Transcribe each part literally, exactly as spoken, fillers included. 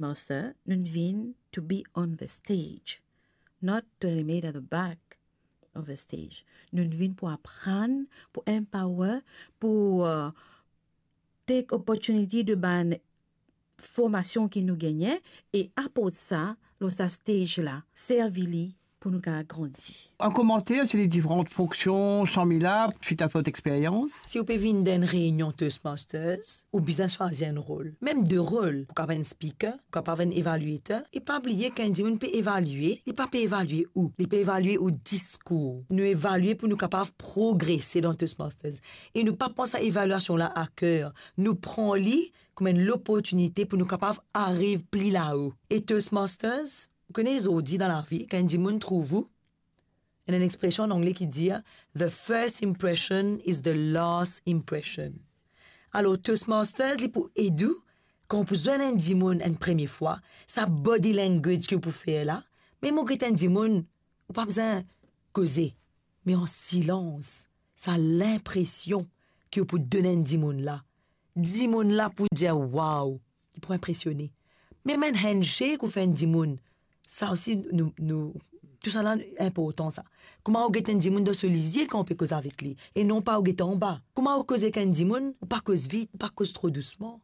Toastmaster, nou vinn to be on the stage, not to remain at the back of the stage. Nou vinn pou aprann, pou empower, pou, uh, take opportunity de bann formasion ki nou gagne e aport sa lor sa stage la, servi li pou nou kapav grandi. Un commentaire sur les différentes fonctions, Sharmila, suite à votre expérience ? Si ou pe vinn dan enn reinion Toastmasters, ou bizin swazir enn rol, mem de rol. Ou kapav enn speaker, ou kapav enn evaluator. E pa bliye, kan enn dimoun pe evalie, li pa pe evalie ou, li pe evalie ou diskour. Nou evalie pou nou kapav progrese dan Toastmasters. E nou pa pran sa evalyasion la a ker. Nou pran li kouma enn loportinite pou nou kapav ariv pli lao. E Toastmasters, ou kone zordi dan lavi, kan enn dimoun trouv ou, ena enn expresion an angle ki dir, "The first impression is the last impression." Alor, Toastmasters, li pou ed ou, kan ou pou zwenn enn dimoun enn premie fwa, sa body language ki ou pou fer la, mem ou get enn dimoun, ou pa bizin koze, me an silans, sa linpresion ki ou pou donn enn dimoun la, dimoun la pou dir, "Wow!" Li pou inpresione. Mem enn handshake ou fer enn dimoun, sa osi, nou, nou, tousala inportan sa. Kouma ou get enn dimoun dan so lizie kan ou pe koz avek li, e non pa ou get anba. Kouma ou koz ek enn dimoun, ou pa koz vit, ou pa koz tro dousman,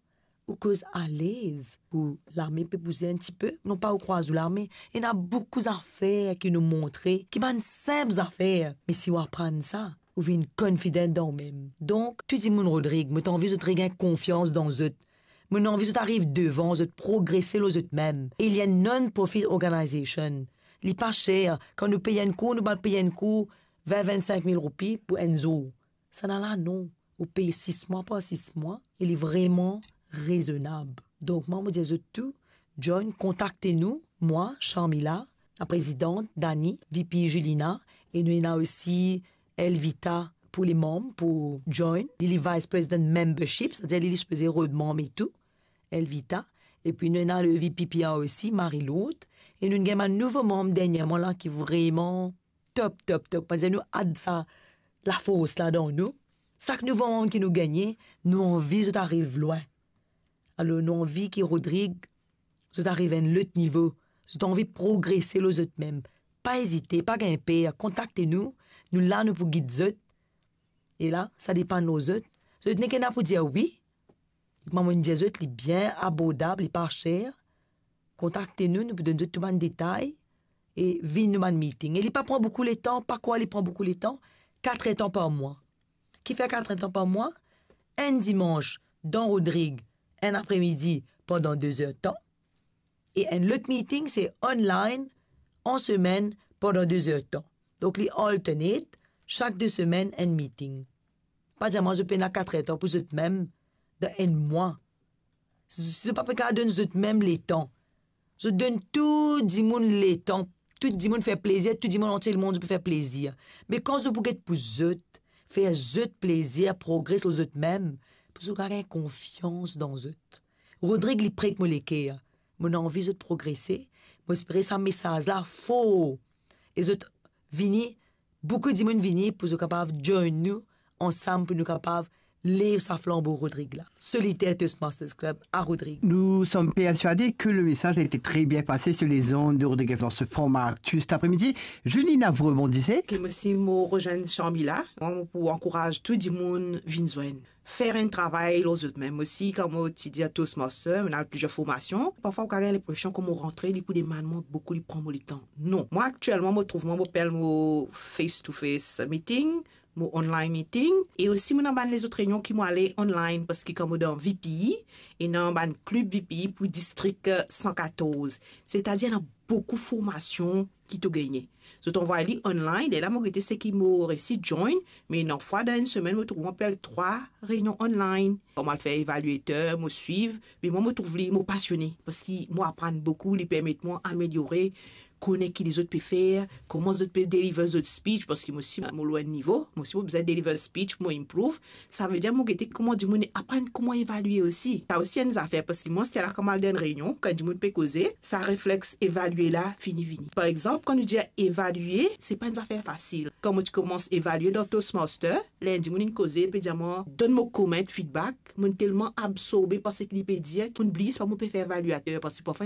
ou koz alez. Pou lame pe bouze enn tipe, non pa ou krwaz ou lame. Ena boukou zafer ki nou montre, ki bann sinp zafer, me si ou aprann sa, ou vinn confident dan ou mem. Donk, tou dimoun Rodrig, mo anvi zot regagn konfians dan zot. Mo anvi zot ariv devan, zot progrese lor zot mem. E li enn non-profit organization. Li pa ser. Kan nou pey enn kour, nou pa pey enn kour vin, vinn-sink mil roupi pou enn zour. Sa nala non. Ou pey sis mwa par sis mwa, e li vreman rezonab. Donk, mwa, mo dir zot tou, join, kontakte nou, mwa, Sharmila, la prezidant, Dani, V P Julina, e nou ena osi Elvita pou le manm, pou join. Li, li vice president membership, setadir li, li sipoze rod manm e tou, Elvita. Epi nou ena le V P P R osi, Marie-Lourdes. E nou gagn bann nouvo manm derniereman la ki vreman top, top, top. Mo dir nou add sa lafors la dan nou. Sak nouvo manm ki nou gagne, nou anvi zot ariv lwin. Alor, nou anvi ki Rodrig, zot ariv enn lot nivo. Zot anvi progrese lor zot mem. Pa ezite, pa gagn per, kontakte nou. Nou la, nou pou gid zot. E la, sa depann lor zot. Zot nek ena pou dir wi. Kouma mo dir zot, li bien abordab, li pa ser. Kontakte nou, nou pou donn zot tou bann detay. E vinn nou bann meeting. E li pa pran boukou letan, pa krwar li pran boukou letan, kat er tan par mwa. Kifer kat er tan par mwa? Enn dimans dan Rodrig, enn apremidi pandan de zer tan, e enn lot meeting se online an semenn pandan de zer tan. Donk li alternate, sak de semenn enn meeting. Pa dir mwa zot pena kat er tan pou zot mem dan enn mwa. Zot pa pe kapav donn zot mem letan. Zot donn tou dimoun letan. Tou dimoun fer plezir, tou dimoun antie lemonn zot pou fer plezir. Me kan zot pou get pou zot, fer zot plezir, progres lor zot mem, pou zot kapav gagn konfians dan zot. Rodrig, li pre ek mo leker. Mo anvi zot progrese. Mo espere sa mesaz la for. E zot vini, boukou dimoun vini pou zot kapav join nou ansam, pou nou kapav lev sa flanbo Rodrig la. Soliter Toastmasters Club a Rodrig. Nous sommes persuadés que le message a été très bien passé sur les ondes de Rodrig F M dans ce format actu cet après-midi. Julina, vous rebondissez ? Ke mo osi mo rezwenn Sharmila, mwa mo pou ankouraz tou dimoun vinn zwenn. Fer enn travay lor zot mem. Mo osi, kan mo ti dir Toastmaster, mo ena plizier formasion. Parfwa ou kapav gagn linpresion kan mo rantre, li pou demann mwa boukou, li pran mo letan. Non. Mwa, aktielman, mo trouv mwa, mo pe al mo face to face meeting, mo online meeting, e osi mo ena bann lezot reynion ki mo ale online, parski kan mo dan V P E, ena bann klib V P E pou distrik, eh, san katorz. Setadir, ena boukou formasion ki to gagne. Zot anvway li online, lerla mo gete seki mo resi join, me ena fwa dan enn semenn, mo trouv mwa pe al trwa reynion online. Kan mo al fer evaluator, mo swiv, me mwa mo trouv li, mo pasione, parski mo aprann boukou, li permet mwa ameliore kone ki lezot pe fer, kouma zot pe deliver zot speech, parski mo osi mo lor enn nivo, mo osi mo bizin deliver speech, mo improve. Savedir mo gete kouma dimoun aprann kouma evalie osi. Sa osi enn zafer, parski mwa, si ti al kouma al dan enn reynion, kan dimoun pe koze, sa reflex evalie la fini vini. Par exanp, kan nou dir evalie, se pa enn zafer fasil. Kan mo ti koumans evalie dan Toastmaster, ler enn dimoun inn koze, pe dir mwa, donn mo comment, feedback, mo'nn telman absorbe par seki li pe dir, mo'nn bliye se pa mo pe fer evalyater, parski parfwa ena